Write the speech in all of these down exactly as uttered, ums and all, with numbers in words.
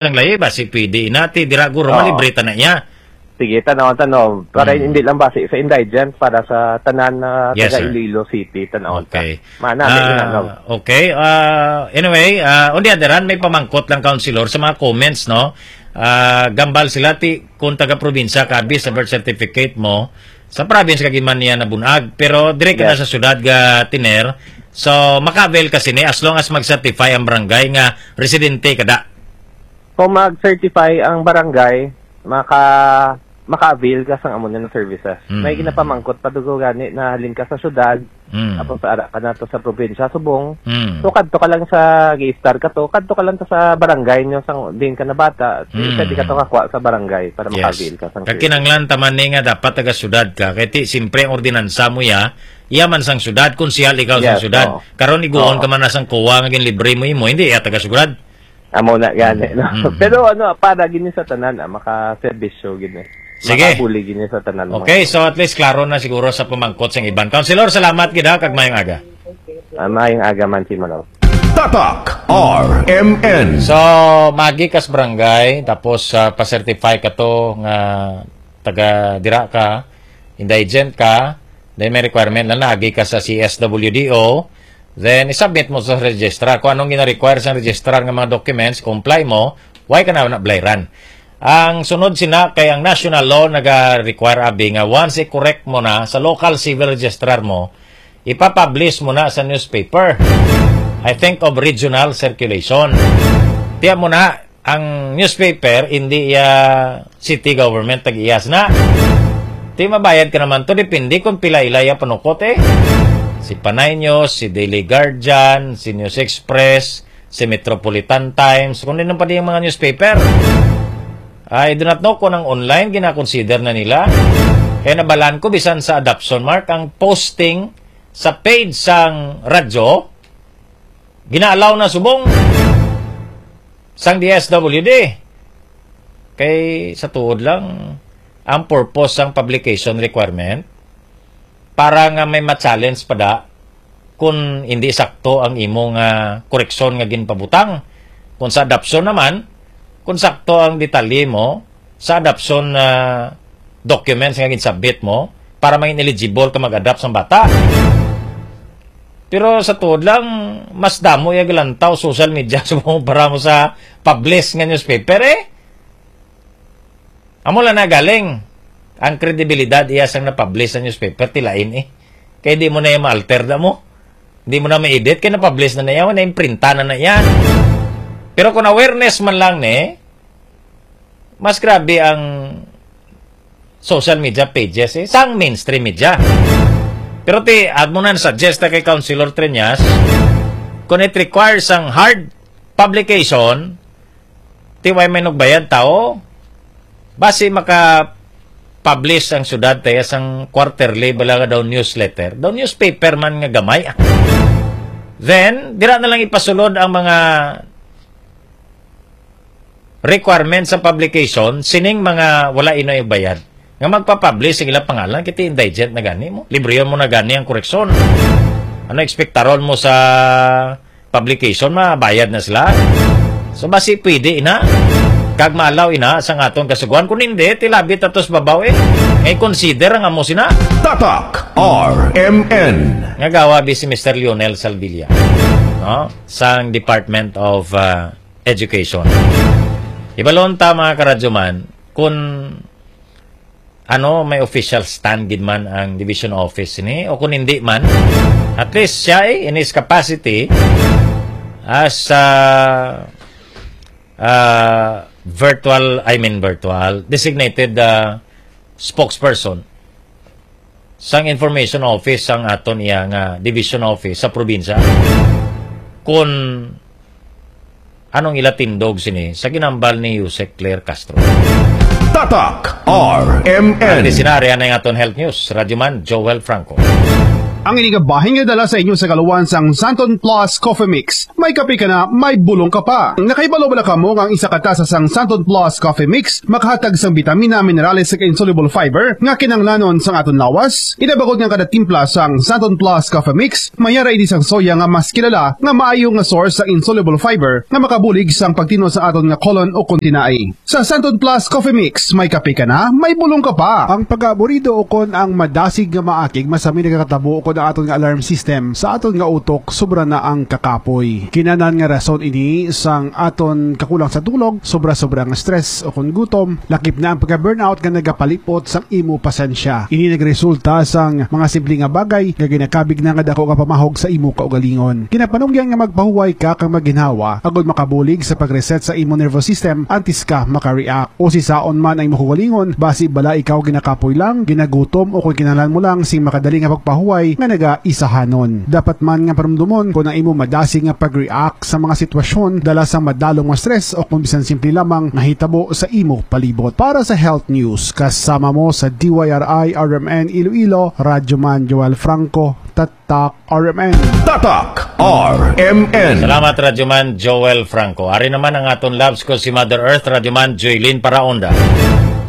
Ang layi ba si pwede inati, dira guro, oh, malibre ta na iya. Sige, tanaw, tanaw. Para, hmm, hindi lang basi sa indigent, para sa tanan na, yes, taga, sir, Iloilo City, tanaw ta. Okay. Mana, may, ah, inanaw. Okay. Ah, anyway, ah, on the other hand, may pamangkot lang, Councilor, sa mga comments, no? Ah, gambal sila, ti, kung taga-probinsya ka, abi sa birth certificate mo, sa province ka gid man niya nabunag, pero dire ka na, yes, sa syudad ga tener, so maka-avail ka sini as long as mag-certify ang barangay nga residente ka da. Kung mag-certify ang barangay, maka-, maka-avail ka sang amo na services. Mm. May ginapamangkot pa dugo gani na halin ka sa syudad, mm, tapos ara ka na to sa probinsya, subong. Mm. So, kadto ka lang sa gi-start ka to, kadto ka lang to sa barangay nyo sang din ka na bata, mm, pwede ka to kakuha sa barangay para, yes, maka-avail ka sang services. Kakinanglan ta man ni nga dapat taga-syudad ka, kay ti, simpre ang ordinansa mo ya, iya man sang syudad, konsehal ikaw sang, yes, syudad. Oo. Karon iguon, oo, ka man na sang kowa nga ginlibre mo imo, hindi iya taga-syudad. Amo na gani, no? Mm, mm. Pero ano, para gini sa tanan, ah, makaserbisyo gini. Sige. Makabulig gini sa tanan, mga. Okay, so at least klaro na siguro sa pamangkot sang iban. Councilor, salamat gid, ha, kag mayong aga. Ah, mayong aga man, Simon. Tatak R M N. So, magi kas barangay, tapos, ah, pa-certify ka to nga taga dira ka, indigent ka, then may requirement na nagi ka sa C S W D O, then isubmit mo sa registrar. Kung anong gina-require sa registrar nga mga documents, comply mo, why ka na nablairan? Ang sunod sina kay ang national law naga-require abi nga once i-correct mo na sa local civil registrar mo, ipapublish mo na sa newspaper. I think of regional circulation. Tiya mo na, ang newspaper, hindi iya city government tag-iyas na. Ti mabayad ka naman to, depende kung pila ila iya panukot eh. Si Panay News, si Daily Guardian, si News Express, si Metropolitan Times, kung din pa di ang mga newspaper. I do not know kung ang online gina-consider na nila. Kaya nabalaan ko, bisan sa adoption, Mark, ang posting sa page sang radyo, gina-allow na subong sang D S W D. Kay sa tuod lang, ang purpose sang publication requirement para nga may ma-challenge pa da kung hindi sakto ang imo nga koreksyon nga ginpabutang. Kung sa adoption naman, kung sakto ang detalye mo sa adoption na documents nga ginsubmit mo para maging eligible ka mag-adopt sang bata. Pero sa tuod lang, mas damo iya gilantaw social media sa para mo sa publish nga newspaper eh. Amo lang na galing. Ang kredibilidad iya sang na-publish sa newspaper, tilain eh. Kay di mo na iya ma-alter na mo. Di mo na ma-edit, kay na-publish na na iya, na-imprinta na na iya. Pero kung awareness man lang ni, mas grabe ang social media pages eh, sang mainstream media. Pero ti, at mo na suggest na kay Councilor Treñas, kung it requires ang hard publication, ti way may nagbayad tao, basi maka-publish ang syudad tayo sang quarterly, bala nga daw newsletter, daw newspaper man nga gamay. Then, dira na lang ipasulod ang mga requirement sa publication, sining mga wala ino bayad, nga magpa-publish ang ilang pangalan, kiti indigent na gani mo. Libriyon mo na gani ang koreksyon. Ano ekspektaron mo sa publication? Mabayad na sila. So, basi pwede ina. Kag maalaw ina sa aton kasugoan. Kung hindi, tilabi tatos babaw eh. Ngay consider ang amo sina. Tatak R M N. Nga gawa bi si Mister Lionel Salvilla, no? Sang Department of, ah, Education. Ibalon ta, mga karadyoman, kung ano, may official stand gid man ang division office ni, o kung hindi man, at least siya eh, in his capacity as, ah, ah, virtual, I mean virtual, designated, ah, spokesperson sang information office sang aton iya nga division office sa probinsya, kung anong ila tindog sini sa ginambal ni Usec Claire Castro. Tatak R M N. Ati sinari anay nga aton health news, Radyoman Joel Franco. Ang ini nga bahin nga dala sa inyo sa kaluwan sang Santon Plus Coffee Mix. May kape ka na, may bulong ka pa. Nakahibalo bala kamo nga ang isa ka tasa sang Santon Plus Coffee Mix makahatag sang bitamina, minerales, ug insoluble fiber nga kinahanglanon sang aton lawas? Inabagod nga kada timpla sang Santon Plus Coffee Mix, may ara ini sang soya nga mas kilala nga maayo nga source sa insoluble fiber nga makabulig sang pagtinwa sa aton nga colon o kon tinai. Sa Santon Plus Coffee Mix, may kape ka na, may bulong ka pa. Ang pag-aaburido ukon ang madasig nga maakig masami nagakatabo ukon ang aton nga alarm system sa aton nga utok sobra na ang kakapoy. Kinanan nga rason ini sang aton kakulang sa tulog, sobra-sobra nga stress ukon gutom, lakip na ang pagka-burnout nga nagapalipot sang imo pasensya. Ini nagresulta sang mga simple nga bagay nga ginakabig na nga dako nga pamahog sa imo kaugalingon. Ginapanugyan nga magpahuway ka kag maginhawa agud makabulig sa pag-reset sa imo nervous system antes ka maka-react. O sisaon man ang imo kaugalingon, basi bala ikaw ginakapoy lang, ginagutom, o kon kinahanglan mo lang sing makadali nga pagpahuway nga nagaisahanon. Dapat man nga parumdomon kon ang imo madasig nga pag-react sa mga sitwasyon dala sang madalom nga stress o kon bisan simple lamang nga hitabo sa imo palibot. Para sa Health News, kasama mo sa D Y R I R M N Iloilo, Radyo Man Joel Franco, Tatak R M N. Tatak R M N. Salamat, Radyoman Joel Franco. Ari naman ang aton Labs ko si Mother Earth, Radyoman Joylene Paraonda.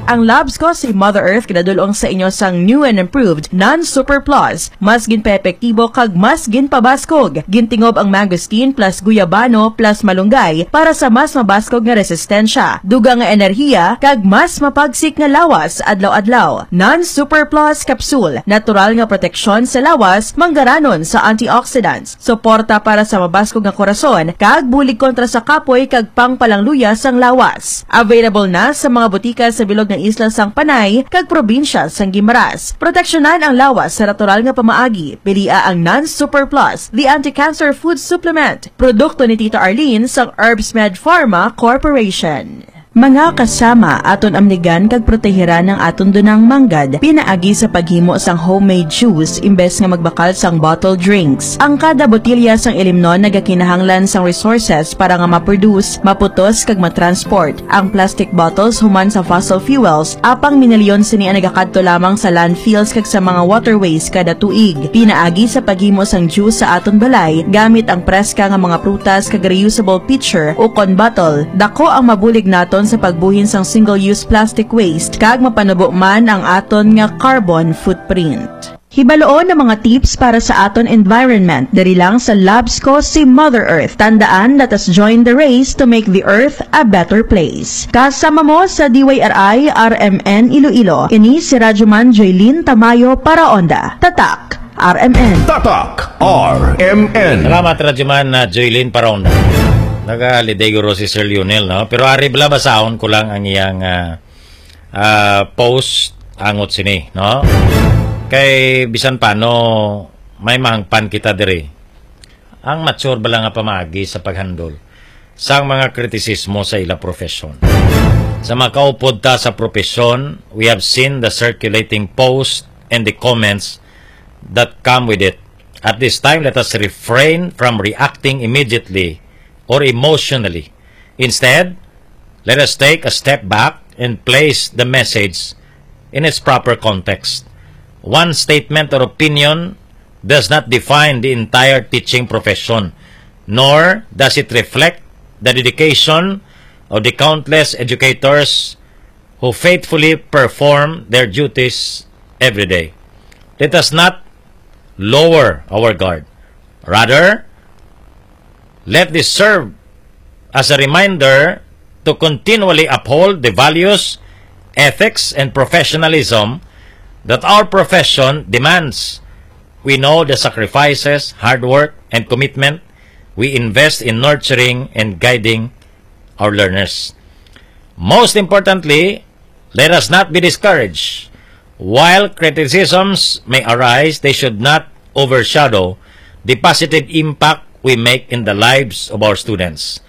Ang Labs ko si Mother Earth kinadulong sa inyo sang new and improved Non-Super Plus. Mas ginpaepektibo kag mas ginpabaskog. Gintingob ang mangosteen plus guyabano plus malunggay para sa mas mabaskog nga resistensya, dugang nga enerhiya, kag mas mapagsik nga lawas adlaw-adlaw. Non-Super Plus Capsule, natural nga proteksyon sa lawas, manggaranon sa antioxidants, suporta para sa mabaskog nga korason, kag bulig kontra sa kapoy kag pangpalangluya sang lawas. Available na sa mga butika sa bilog nga isla sang Panay kag probinsya sang Guimaras. Proteksyonan ang lawas sa natural nga pamaagi. Pilia ang Non-Super Plus, the anti-cancer food supplement. Produkto ni Tita Arlene sang Herbs Med Pharma Corporation. Mga kasama, aton amnigan kag protehiran ang aton dunang manggad pinaagi sa paghimo sang homemade juice imbes nga magbakal sang bottle drinks. Ang kada botelya sang ilimnon nagakinahanglan sang resources para nga ma-produce, maputos, kag matransport. Ang plastic bottles human sa fossil fuels, apang minilyon sini ang nagakadto lamang sa landfills kag sa mga waterways kada tuig. Pinaagi sa paghimo sang juice sa aton balay gamit ang preska nga mga prutas kag reusable pitcher ukon bottle, dako ang mabulig naton sa pagbuhin sang single-use plastic waste kag mapanubo man ang aton nga carbon footprint. Hibaloon ang mga tips para sa aton environment diri lang sa Labs ko si Mother Earth. Tandaan, let us join the race to make the earth a better place. Kasama mo sa D Y R I R M N Iloilo, ini si Radyoman Joylene Tamayo para Onda. Tatak R M N. Tatak R M N. Salamat, Radyoman, uh, Joylene Paraonda. Nagaliday guro si Sir Lionel, no? Pero ari bala, basahon ko lang ang iyang, ah, ah, post angot sini, no? Kay bisan pano may mahangpan kita diri. Ang mature bala nga pamaagi sa paghandol sang mga kritisismo sa ila profesyon. Sa makaupod ta sa profesyon, we have seen the circulating post and the comments that come with it. At this time, let us refrain from reacting immediately or emotionally. Instead, let us take a step back and place the message in its proper context. One statement or opinion does not define the entire teaching profession, nor does it reflect the dedication of the countless educators who faithfully perform their duties every day. Let us not lower our guard. Rather, let this serve as a reminder to continually uphold the values, ethics, and professionalism that our profession demands. We know the sacrifices, hard work, and commitment we invest in nurturing and guiding our learners. Most importantly, let us not be discouraged. While criticisms may arise, they should not overshadow the positive impact we make in the lives of our students.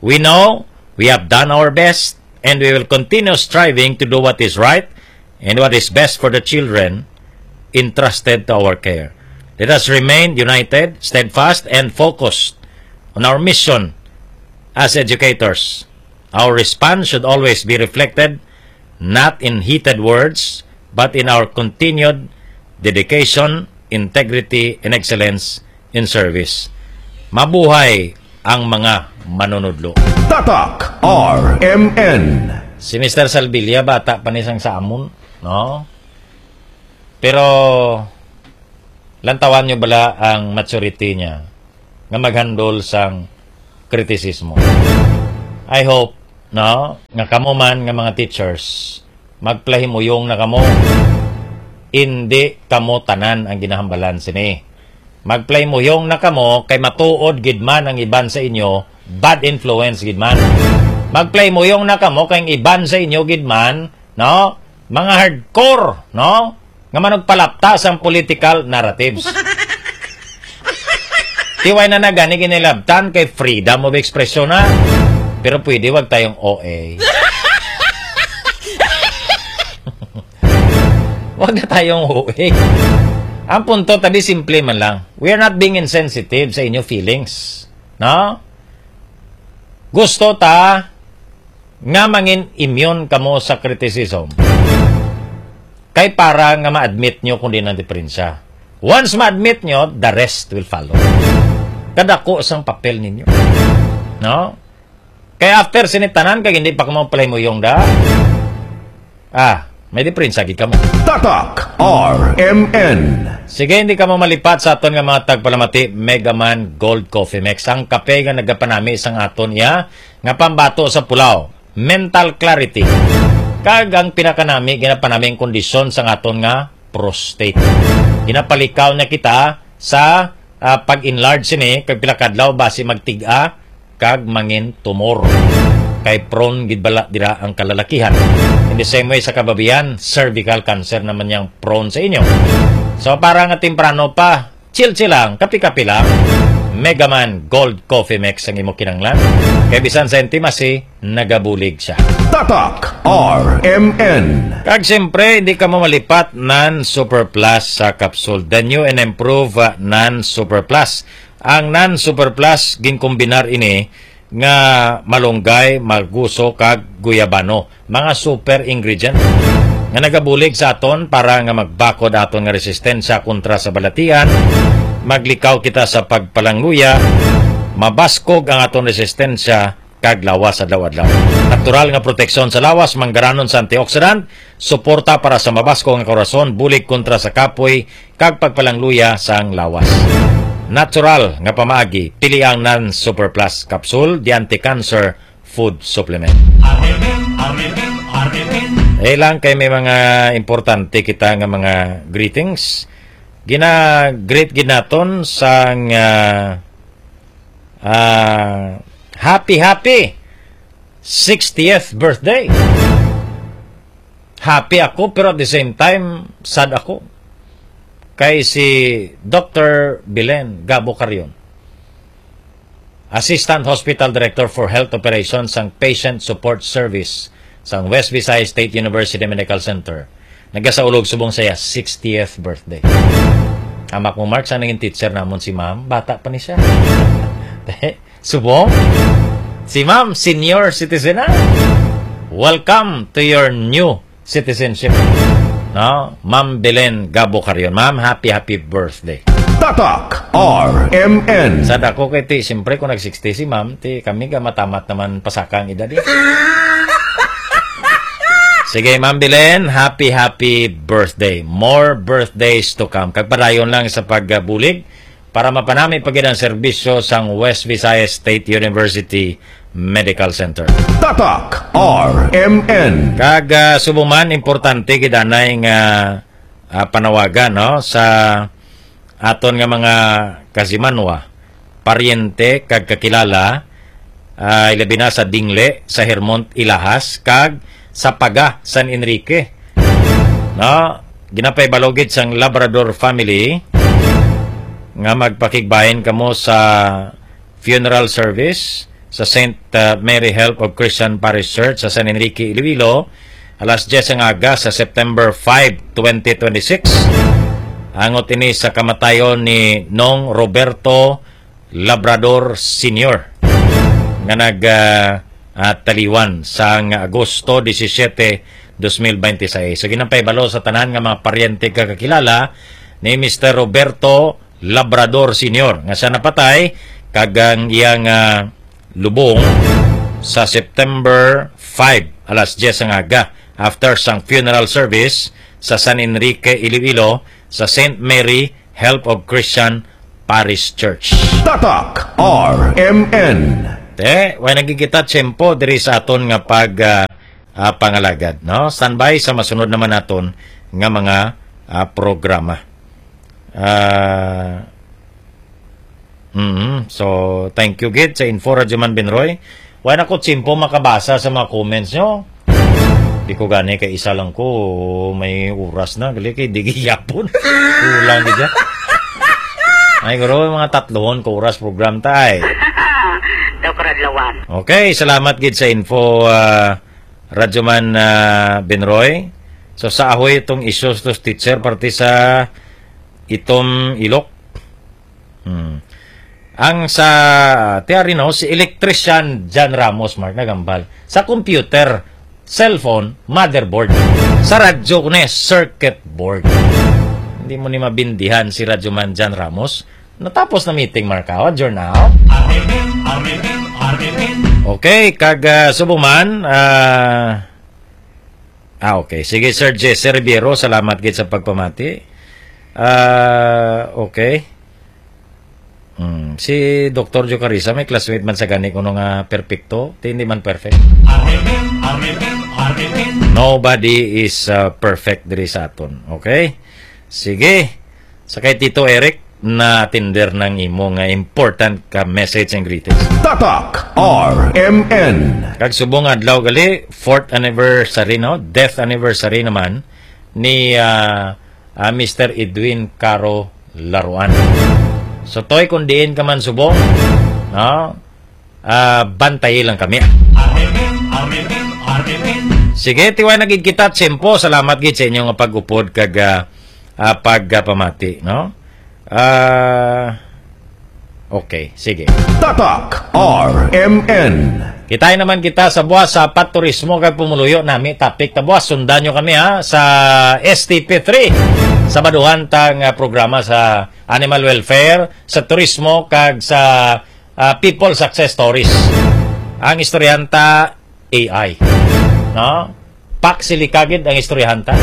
We know we have done our best, and we will continue striving to do what is right and what is best for the children entrusted to our care. Let us remain united, steadfast, and focused on our mission as educators. Our response should always be reflected not in heated words, but in our continued dedication integrity, and excellence in service. Mabuhay ang mga manunudlo. Tatak R M N. Si Mister Salvilla, bata pa ni sang sa amon, no? Pero, lantawan nyo bala ang maturity niya nga maghandle sang kritisismo. I hope, no, nga kamo man nga mga teachers, magpalahimuyong na kamo. Indi kamo tanan ang ginahambalan sini. Magpalahimuyong na kamo kay matuod gid man ang iban sa inyo, bad influence gid man. Magpalahimuyong na kamo kay ang iban sa inyo gid man, no, mga hardcore, no, nga manugpalapta sang political narratives. Tiway na na gani ginilabtan kay freedom of expression na. Pero pwede wag tayong O A. Wag na tayong O A. Ang punto, tabi, simple man lang. We are not being insensitive sa inyo feelings. No? Gusto ta nga mangin immune kamo sa criticism. Kay para nga ma-admit nyo kung di ang diferensya. Once ma-admit nyo, the rest will follow. Kadako sang papel ninyo. No? Kay after sini tanan, kag hindi pa kamo palahimuyong da. Ah, may diferensya gid kamo. Tatak R M N. Sige, hindi kamo malipat sa aton nga mga tagpalamati, Mega Man Gold Coffee Mix. Ang kape nga nagapanami sang aton iya nga pambato sa pulaw, mental clarity. Kag ang pinakanami, ginapanami ang kondisyon sang aton nga prostate. Ginapalikaw niya kita sa, ah, pag-enlarge sini, kag pila kadlaw basi magtig-a, kag mangin tumor. Kay prone gid bala dira ang kalalakihan. In the same way sa kababian, cervical cancer naman yang prone sa inyo. So, para nga temprano pa, chill-chill lang, kape-kape lang. Mega Man Gold Coffee Mix ang imo kinahanglan. Kay bisan sa intimacy, nagabulig siya. Tatak R M N. Kag siyempre, hindi kamo malipat nan Super Plus sa kapsul. The new and improved, uh, nan Super Plus. Ang nan Super Plus, ginkombinar ini nga malunggay, maguso, kag guyabano, mga super ingredient nga nagabulig sa aton para nga magbakod aton nga resistensya kontra sa balatian, maglikaw kita sa pagpalangluya, mabaskog ang aton resistensya kag lawas adlaw-adlaw. Natural nga proteksyon sa lawas, manggaranon sa antioxidant, suporta para sa mabaskog nga korason, bulig kontra sa kapoy, kag pagpalangluya sang lawas. Natural nga pamaagi, pili ang Nan Super Plus Capsule, the anti-cancer food supplement. Areben, areben, areben. Eh lang kay may mga importante kita nga mga greetings. Gina-greet gid naton sang, ah, ah, happy, happy sixtieth birthday. Happy ako, pero at the same time, sad ako. Kay si Doctor Belen Gabo Carion, Assistant Hospital Director for Health Operations sang Patient Support Service sang West Visayas State University Medical Center, nagasaulog subong sa iya sixtieth birthday. Amak mo, Mark, sa naging teacher namon si Ma'am, bata pa ni siya. Subong? Si Ma'am, senior citizen na. Welcome to your new citizenship. No? Ma'am Belen Gabo Carion. Ma'am, happy, happy birthday. Tatak R M N. Sa dako kay ti, siyempre, kung nag-sixty si Ma'am, ti kami ga matamat naman pasaka ang edad, eh. Sige, Ma'am Belen, happy, happy birthday. More birthdays to come. Kag padayon lang sa pagbulig para mapanami pa gid ang serbisyo sang West Visayas State University Medical Center. Tatak R M N. Kag, ah, subong man, importante gid anay nga, ah, panawagan, no, sa aton nga mga kasimanwa, paryente, kag kakilala, ah, ilabi na sa Dingle, sa Hermont, Ilahas, kag sa Paga, San Enrique. No? Ginapahibalo gid sang Labrador family nga magpakigbahin kamo sa funeral service sa Saint, uh, Mary Help of Christian Parish Church sa San Enrique, Iloilo, alas diyes ang aga sa September five, twenty twenty-six. Angot ini sa kamatayon ni Nong Roberto Labrador Senior, nga nag, ah, ah, taliwan sang Agosto disisiete, dos mil bente seis. So, ginapahibalo sa tanan nga mga paryente kag kakilala ni Mister Roberto Labrador Senior, nga siya napatay, kag ang iyang, ah, lubong sa September five, alas diyes sang aga, after sang funeral service sa San Enrique, Iloilo, sa Saint Mary Help of Christian Parish Church. Tatak R M N. Te, way na gid kita tiyempo diri sa aton nga pag, ah, ah, pangalagad, no? Standby sa masunod naman naton nga mga, ah, programa. Ah, mm, so, thank you gid sa info, Radyoman Benroy. Wala na ko tiyempo makabasa sa mga comments nyo. Di ko gani kay isa lang ko, may oras na, gali kay di gihapon. Kulang gid siya. Ay, guro, mga tatlohon ko oras program tay. Daw karadlawan. Okay, salamat gid sa info, ah, Radyoman, ah, Benroy. So, sa ahoy itong issues to teacher, parte sa itom ilok. Hmm. Ang sa Tiarino, si Electrician John Ramos, Mark, nagambal. Sa computer, cellphone, motherboard. Sa radyo, kuno, circuit board. Hindi mo ni mabindihan si Radyoman John Ramos. Natapos na meeting, Mark, ah. Adjourn na, oh. Okay, kag, ah, subong man, ah, ah, okay. Sige, Sir Jesse Ribiero, salamat gid sa pagpamati. Ah, okay. Hmm, si Doktor Joe Carissa, may classmate man sa gani kuno nga perpekto, ti hindi man perfect. Nobody is, uh, perfect diri sa aton, okay? Sige. Sa kay Tito Eric, na-attender ng imo nga important ka message and greetings. Tatak R M N. Kag subong adlaw gali, fourth anniversary, no? Death anniversary naman ni, ah, ah, Mister Edwin Caro Laruan. So, Toy, kung diin ka man subong, no? Ah, bantayi lang kami. Sige, tiway na gid kita, tiyempo. Salamat gid sa inyo nga pag-upod kag, ah, ah, pagpamati, no? Ah, okay, sige. Tatak R M N. Kitay naman kita sa buwas sa paturismo kag pumuluyo nami topic ta buwas. Sundan nyo kami, ha, sa S T P three. Sa baduhan tang, ah, programa sa animal welfare, sa turismo, kag sa, ah, people success stories. Ang istoryahon ta, A I. No? Pak sili kagid ang istoryahon ta.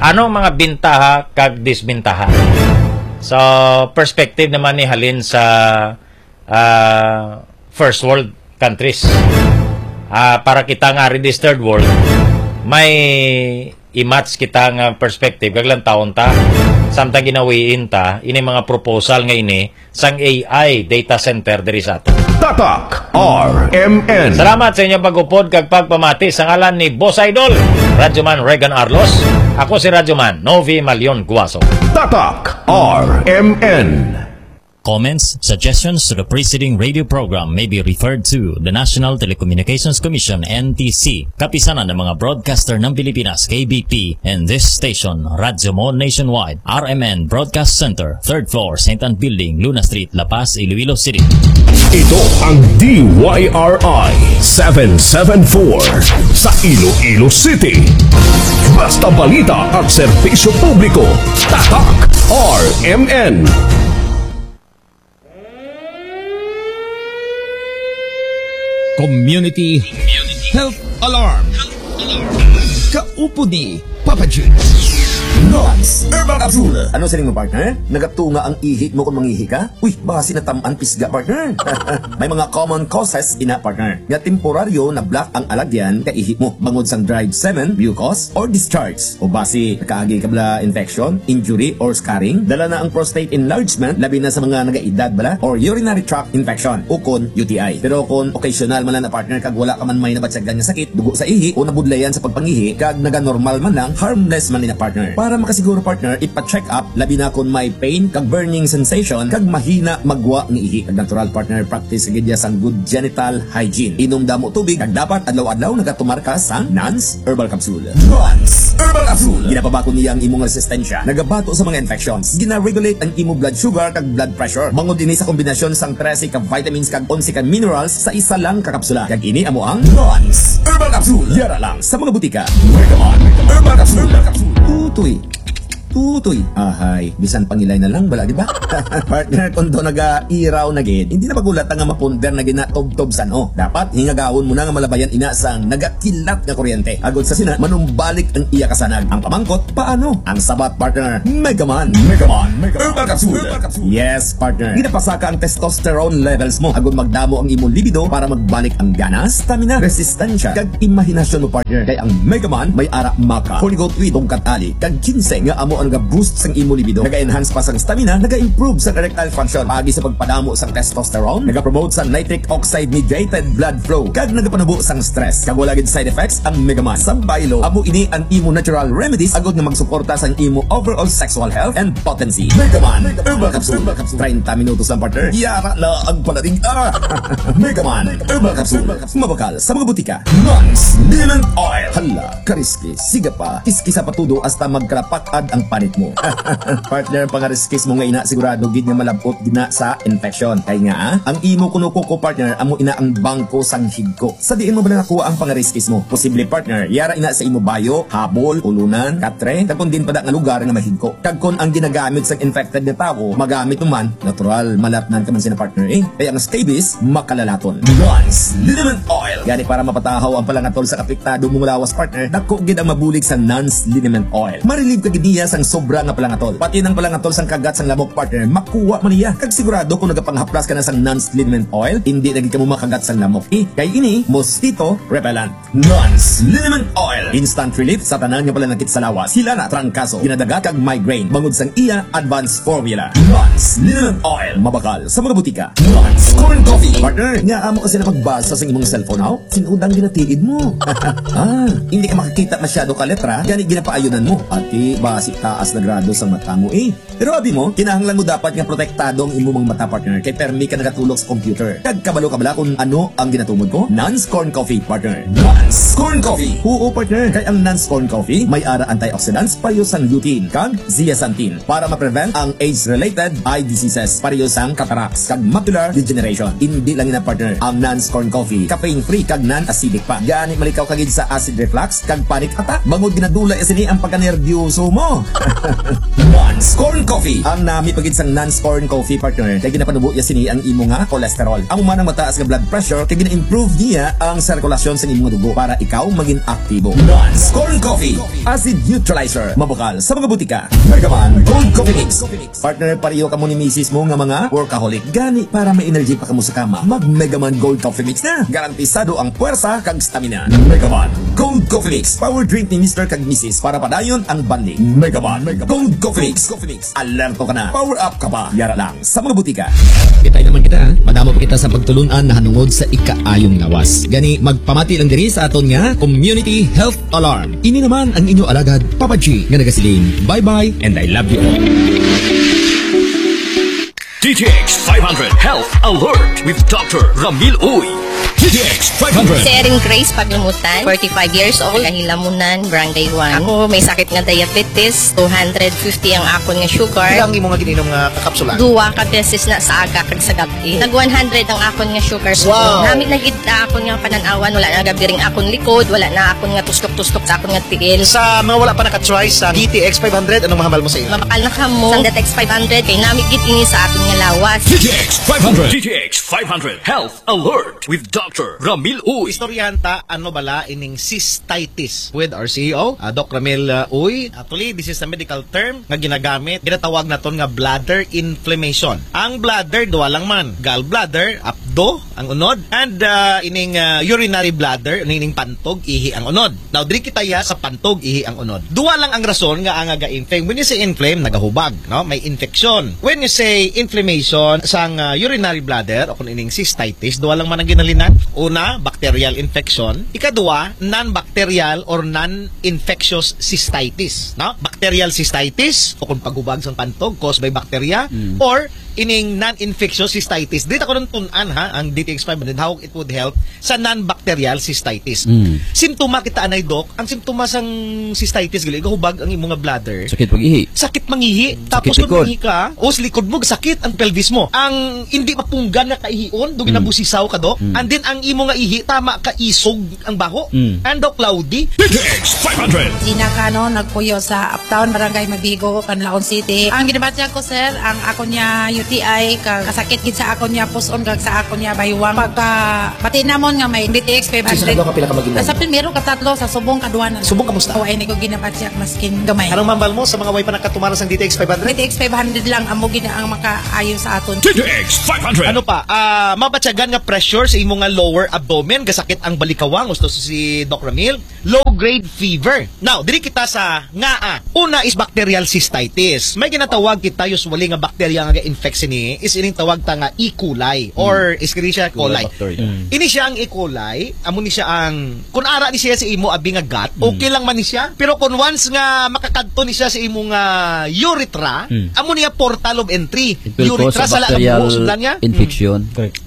Ano ang mga bintaha kag disbintaha? So, perspective naman ni halin sa, ah, first world countries. Ah, para kita nga ari dis third world, may i-match kita nga perspective, kag lantawon ta, samtang ginawiin ta, ini mga proposal nga ini, sang A I data center diri sa ato. Tatak R M N. Salamat sa inyong pag-upod kag pagpamati sa ngalan ni Boss Idol, Radyoman Regan Arlos. Ako si Radyoman Novi Malion Guaso. Tatak R M N. Comments, suggestions to the preceding radio program may be referred to the National Telecommunications Commission, N T C, Kapisanan ng mga Broadcaster ng Pilipinas, K B P, and this station, Radyo Mo Nationwide, R M N Broadcast Center, third floor, Saint Ann Building, Luna Street, La Paz, Iloilo City. Ito ang D Y R I seven seven four sa Iloilo City. Basta balita at serbisyo publiko, Tatak R M N. Community Health Alarm. Kaupod ni Papa Jude. Nons Herbal Capsule. Ano siling mo, partner? Nagatunga ang ihi mo kung mangihi ka? Uy, basi natam-an pisga, partner. May mga common causes ina, partner, nga temporaryo na-block ang alagyan ka ihi mo, bangod sang dried semen, mucus, or discharge. O basi, nakaagi ka bala infection, injury, or scarring? Dala na ang prostate enlargement, labi na sa mga nagaedad bala, or urinary tract infection, ukon U T I. Pero kung occasional man lang na, partner, kag wala ka man may nabatyagan nga sakit, dugo sa ihi, o nabudlayan sa pagpangihi, kag naganormal man lang, harmless man ni na, partner. Para makasiguro, partner, ipa-check up, labi na kung may pain, kag burning sensation, kag mahina magwa nga ihi. Kag natural, partner, practice gid ya sang good genital hygiene. Inom damo tubig, kag dapat adlaw-adlaw nagatumar ka sang Nans Herbal Capsule. Nans Herbal Capsule. Ginapabakod niya ang imong resistensya. Nagabato sa mga infections. Gina-regulate ang imo blood sugar kag blood pressure. Bangod ini sa kombinasyon sang trese ka vitamins kag onse ka minerals sa isa lang ka kapsula. Kag ini amo ang Nans Herbal Capsule. Yara lang sa mga butika. Mega Man Herbal Capsule. Tutoy. Tutoy, ahay, bisan pangilay na lang bala, di ba? Partner, kung to nagairaw na gid, hindi na magulat nga mapundar na gid na tubtob san-o. Dapat hingagahon mo na nga malabayan ina sang nagakilat nga kuryente. Agod sa sina, manumbalik ang iya kasanag. Ang pamangkot, paano? Ang sabat, partner, Megaman. Megaman, Megaman. Herbal Capsule. Yes, partner. Ginapasaka ang testosterone levels mo. Agod magdamo ang imo libido para magbalik ang gana, stamina, resistensya, kag imahinasyon mo, partner. Kay ang Megaman may ara maca, forty-two tungkat ali, kag quince nga amo ang naga-boost sang imo libido. Naga-enhance pa sang stamina, naga-improve sang erectile function, paagi sa pagpadamo sang testosterone, nagapromote sa nitric oxide mediated blood flow, kag nagapanubo sang stress. Kag wala gid side effects ang Megaman. Sa baylo, amo ini ang imo natural remedies agod nga magsuporta sang imo overall sexual health and potency. Megaman Herbal Capsule. Treinta minutos lang, partner. Yara na ang palating, ah! Megaman Herbal Capsule. Mabakal sa mga butika. Nans Liniment Oil. Hala, kariskis. Siga pa. Kiskisa pa todo hasta magkalapak-ad ang panit mo. Partner, ang pangariskis mo nga ina, sigurado gid nga malabot gid na sa infection. Kay nga, ah, ang imo kunukuko, partner, amo ina ang bangko sang higko. Sa diin mo bala nakuha ang pangariskis mo? Posible, partner, yara ina sa imo bayo, habol, ulunan, katre, kag kon diin pa da nga lugar nga mahigko. Kag kon ang ginagamit sang infected nga tawo, magamit mo man, natural, malatnan ka man sina, partner, eh. Kaya ang scabies, makalalaton. Nans Liniment Oil. Gani, para mapatahaw ang palangatol sa apektado mong lawas, partner, dako gid ang mabulig sa Nans Liniment Oil. Ma-relieve ka gid niya sang sobra nga palangatol. Pati nang palangatol sang kagat sang lamok, partner, makuha man niya. Kag sigurado, kung nagapanghaplas ka na sang Nans Liniment Oil, hindi na gid kamo makagat sang lamok. Eh, kay ini, mosquito repellent. Nans Liniment Oil. Instant relief sa tanan nga palanakit sa lawas. Hila na, trangkaso, ginadagat kag migraine. Bangod sang iya advanced formula. Nans Liniment Oil. Mabakal sa mga butika. Nans Corn Coffee. Partner, nga amo ka sila magbasa sa imong cellphone, aw? Sin-udang ginatiid mo. Ah, hindi ka makakita masyado ka letra, gani ginapaayunan mo. Ati, basi taas na grado sa mata mo, eh. Pero abi mo, kinahanglan mo dapat nga protektado ang imo mga mata, partner, kay permi ka nagatulok sa computer. Kag kabalo ka bala kung ano ang ginatumod ko? Nans Corn Coffee, partner. Nans Corn Coffee. Oo, partner, kay ang Nans Corn Coffee may ara antioxidants pareho sang lutein kag zeaxanthin para ma-prevent ang age-related eye diseases pareho sang cataracts kag macular degeneration. Hindi lang ina, partner, ang Nans Corn Coffee, caffeine-free kag non-acidic pa. Gani malikaw ka gid sa acid reflux kag panic attack bangod ginadula ya sini ang pagkanerbyoso mo. Nans Corn Coffee. Ang nami pa gid sang Nans Corn Coffee, partner, kay ginapanubo ya sini ang imo nga cholesterol. Amo man ang mataas nga blood pressure kay gina-improve niya ang sirkulasyon sa imo nga dugo para ikaw maging aktibo. Nans Corn Coffee. Acid neutralizer. Mabakal sa mga butika. Megaman Gold Coffee Mix. Partner, pareho kamo ni misis mo nga mga workaholic. Gani, para may energy pa kamo sa kama, mag Megaman Gold Coffee Mix na. Garantisado ang puwersa kag stamina. Megaman Gold Coffee Mix. Power drink ni Mister kag Missus para padayon ang bonding. Megaman Gold Coffee Mix. Alerto ka na. Power up ka pa. Yara lang sa mga butika. Kita naman kita, ha? Madamo pa kita sa pagtulun-an nahanungod sa ikaayong lawas. Gani, magpamati lang diri sa aton nga Community Health Alarm. Ini naman ang inyo alagad, Papa G, nga nagasiling, "Bye-bye and I love you all." D T X five hundred Health Alert with Doctor Ramil Uy. D T X five hundred. Si Erin Grace Paglimutan, forty-five years old, Kahilamunan, Barangay one. Ako may sakit nga diabetes, two hundred fifty ang akon nga sugar. Pila ang imo nga gininom nga kapsula? Duwa ka beses na sa aga kag sa gabi. Nag one hundred ang akon nga sugar. Wow. Nami na gid na akon nga panan-awan, wala na gabiring akon likod, wala na akon nga tustok-tustok sa akon nga tiil. Sa mga wala pa naka-try sa D T X five hundred, anong mahambal mo sa ila? Mabakal na kamo sa D T X five hundred, kay nami gid ini sa akon nga lawas. D T X five hundred. D T X five hundred Health Alert with Doctor Ramil Uy. Istoryahan ta, ano bala ining cystitis with our C E O, ah, Doc Ramil, ah, Uy. Actually, this is a medical term nga ginagamit, ginatawag naton nga bladder inflammation. Ang bladder, duha lang man, gallbladder, apdo, ang unod, and, ah, ining, ah, urinary bladder, ining pantog, ihi ang unod. Now, diri kita ya sa pantog, ihi ang unod. Duha lang ang rason nga ang ga-inflame. When you say inflame, nagahubag, no? May infection. When you say inflammation sang, ah, urinary bladder o kung ining cystitis, duha lang man ang ginhalinan. Una, bacterial infection. Ikaduha, non-bacterial or non-infectious cystitis, no? Bacterial cystitis o kung paghubag sang pantog caused by bacteria, Mm. or ining non-infectious cystitis. Dito ko nang tunan, ha, ang D T X five hundred, how it would help sa non-bacterial cystitis. Mm. Simptoma kita anay, Doc. Ang simptoma sang cystitis gali, gahubag ang imong nga bladder. Sakit pag-ihi. Sakit mangihi. Tapos Sakit kung likod. mangihi ka, o likod mo, sakit ang pelvis mo. Ang hindi mapunggan nga kaihion, do Mm. ginabusisaw ka, Doc. Mm. And then ang imo nga ihi, tama ka isog ang baho. Mm. And, Doc, cloudy. D T X five hundred. Gina Cano, nagpuyo sa Uptown, Barangay Mabigo, Canlaon City. Ang ginabatyag ko, sir, ang ako niya U T I, kag kasakit gid sa ako niya puson, kag sa ako niya baywang. Pagka, pati namon nga may D T X five hundred. Sa ano ka pila ka mag-inom? Sa primero, katatlo, sa subong, kaduha na. Subong, kamusta? O, ay, ni ko ginabatyag, maskin gamay. Anong mambal mo sa mga way pa nakatumara sang D T X five hundred? D T X five hundred lang, amo gid ang makaayo sa aton. D T X five hundred. Ano pa? Ah, mabatyagan nga pressure sa imo nga lower abdomen, gasakit ang balikawang, gusto si Doc Ramil, low grade fever. Now, diri kita sa nga, ah, una is bacterial cystitis. May ginatawag kita usually nga bacteria nga ga-infect sini, is ining tawag ta nga E. coli or Escherichia coli. Bacteria. Ini siya ang E. coli, amo ni siya ang, kung ara ni siya sa imo abi nga gut, okay lang man ni siya. Pero kung once nga makakadto ni siya sa imo nga urethra, Mm. amo niya portal of entry. It will cause Urethra a sa laang bacterial mo, sudlan niya. infection.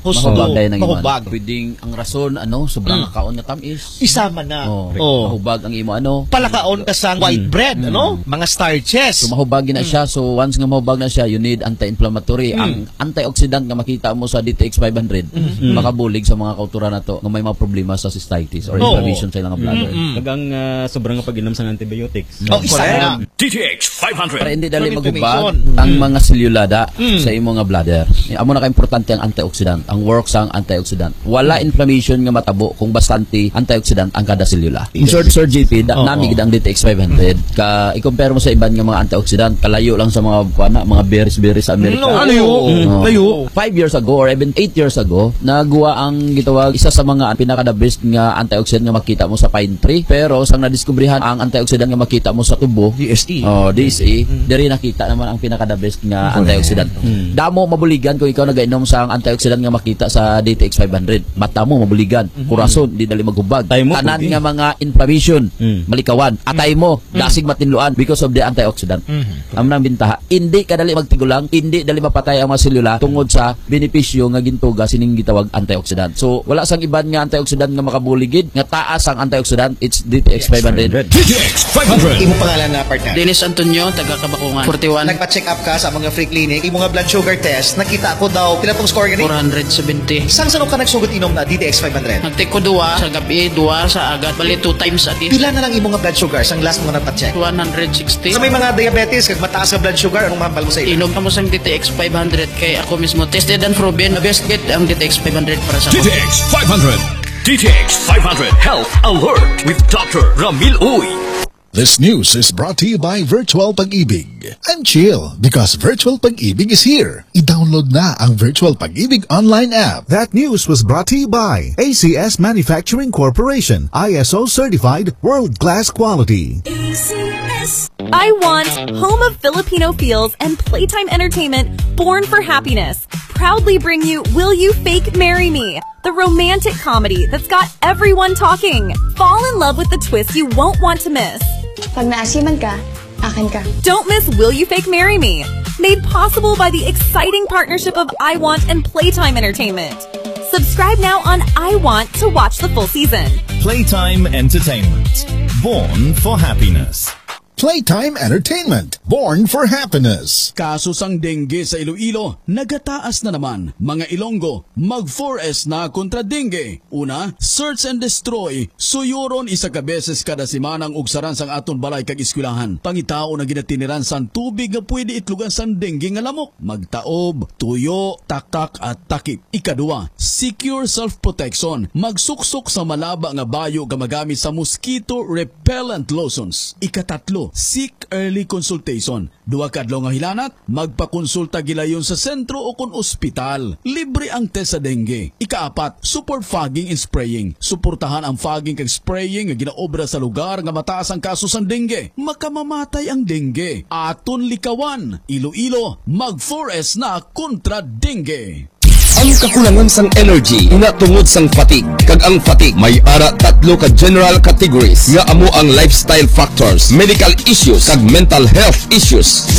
Husto. Mahubag tayo ng Mahubag. Pwedeng ang rason, ano, sobrang Mm. kaon nga tamis. Isama na. Oh, Oh. Mahubag ang imo, ano. Palakaon ka sang white Mm. bread, Mm. ano? Mga starches. So, mahubag na siya. So, once nga mahubag na siya, you need anti-inflammatory. Mm. Ang antioxidant nga makita mo sa D T X five hundred, Mm. makabulig sa mga kauturan nato nga may mga problema sa cystitis or Oo. inflammation sa ilang bladder. Mm-mm. Kag ang ah, sobra nga pag-inom sang antibiotics. Oh, isa na. D T X five hundred. Para hindi dali Ang maghubag inflammation. ang Mm. mga selula da Mm. sa imo nga bladder. Eh, amo na ka importante ang antioxidant, ang work sang antioxidant. Wala inflammation nga matabo kung bastante antioxidant ang kada selula. Sir, Sir J P, da, Oo. nami gid ang D T X five hundred. Ka i-compare mo sa iban nga mga antioxidant, kalayo lang sa mga kuan na, mga berries-berries sa Amerika. No. Ano yun? Oo. Oo. Layo. Five years ago or even eight years ago, nagwa ang gitawag isa sa mga pinaka the best nga antioxidant nga makita mo sa pine tree. Pero sang nadiskubrihan ang antioxidant nga makita mo sa tubo, D S E. Oh, D S E, diri nakita naman ang pinaka the best nga antioxidant. Damo mabuligan kung ikaw nagainom sa ang antioxidant nga makita sa D T X five hundred. Mata mo mabuligan, kurason di dali maghubag. Atay mo, Tanan pugi. nga mga inflammation, Mm. malikawan. Atay mo, dasig matinluan because of the antioxidant. Amo nang bintaha. Hindi ka dali magtigulang, hindi dali mapatay ang mga selula tungod sa benepisyo nga gintuga sining gitawag antioxidant. So, wala sang iban nga antioxidant nga makabuligid, nga taas ang antioxidant, it's D T X five hundred. D T X five hundred. Imo pangalan na, partner? Dennis Antonio, taga Kabakungan. Forty-one. Nagpa-check up ka sa mga free clinic, imo nga blood sugar test, nakita ko daw, pila tong score gani? Four hundred seventy. Sang sano ka nagsugod inom na D T X five hundred? Nagtake ko duwa sa gabi, duwa sa agad. Bali, two times a day. Pila na lang imo nga blood sugar sang last mo nga nagpa-check? One hundred sixty. Sa may mga diabetes kag mataas nga blood sugar, anong mambal mo sa ila? Inom ka mo sang D T X five hundred kay ako mismo tested and proven. Best gid ang D T X five hundred para sa D T X five hundred. D T X five hundred Health Alert with Doctor Ramil Uy. This news is brought to you by Virtual Pag-ibig. And chill, because Virtual Pag-ibig is here. I-download na ang Virtual Pag-ibig online app. That news was brought to you by A C S Manufacturing Corporation, I S O certified, world-class quality. I want home of Filipino feels and playtime entertainment born for happiness. Proudly bring you Will You Fake Marry Me? The romantic comedy that's got everyone talking. Fall in love with the twist you won't want to miss. Pag naasiman ka, akin ka. Don't miss Will You Fake Marry Me? Made possible by the exciting partnership of I Want and Playtime Entertainment. Subscribe now on I Want to watch the full season. Playtime Entertainment. Born for happiness. Playtime Entertainment. Born for happiness. Kaso sang dengue sa Iloilo, nagataas na naman. Mga Ilonggo, mag four S na kontra dengue. Una, search and destroy. Suyuron isa ka beses kada semana ang ugsaran sang aton balay kag eskwelahan. Pangitaon ang ginatiniran sang tubig nga pwede itlogan sang dengue nga lamok. Magtaob, tuyo, taktak at takip. Ikaduha, secure self-protection. Magsuksok sa malaba nga bayo nga magamit sa mosquito repellent lotions. Ikatatlo, seek early consultation. Duha ka adlaw nga hilanat, magpakonsulta gilayon sa sentro o kon ospital. Libre ang test sa dengue. Ikaapat, support fogging and spraying. Suportahan ang fogging kag spraying nga ginaobra sa lugar nga mataas ang kaso sang dengue. Makamamatay ang dengue. Aton likawan. Iloilo, mag four S na kontra dengue. Ang kakulangan sang energy nga tungod sang fatigue, kag ang fatigue may ara tatlo ka general categories nga amo ang lifestyle factors, medical issues, kag mental health issues.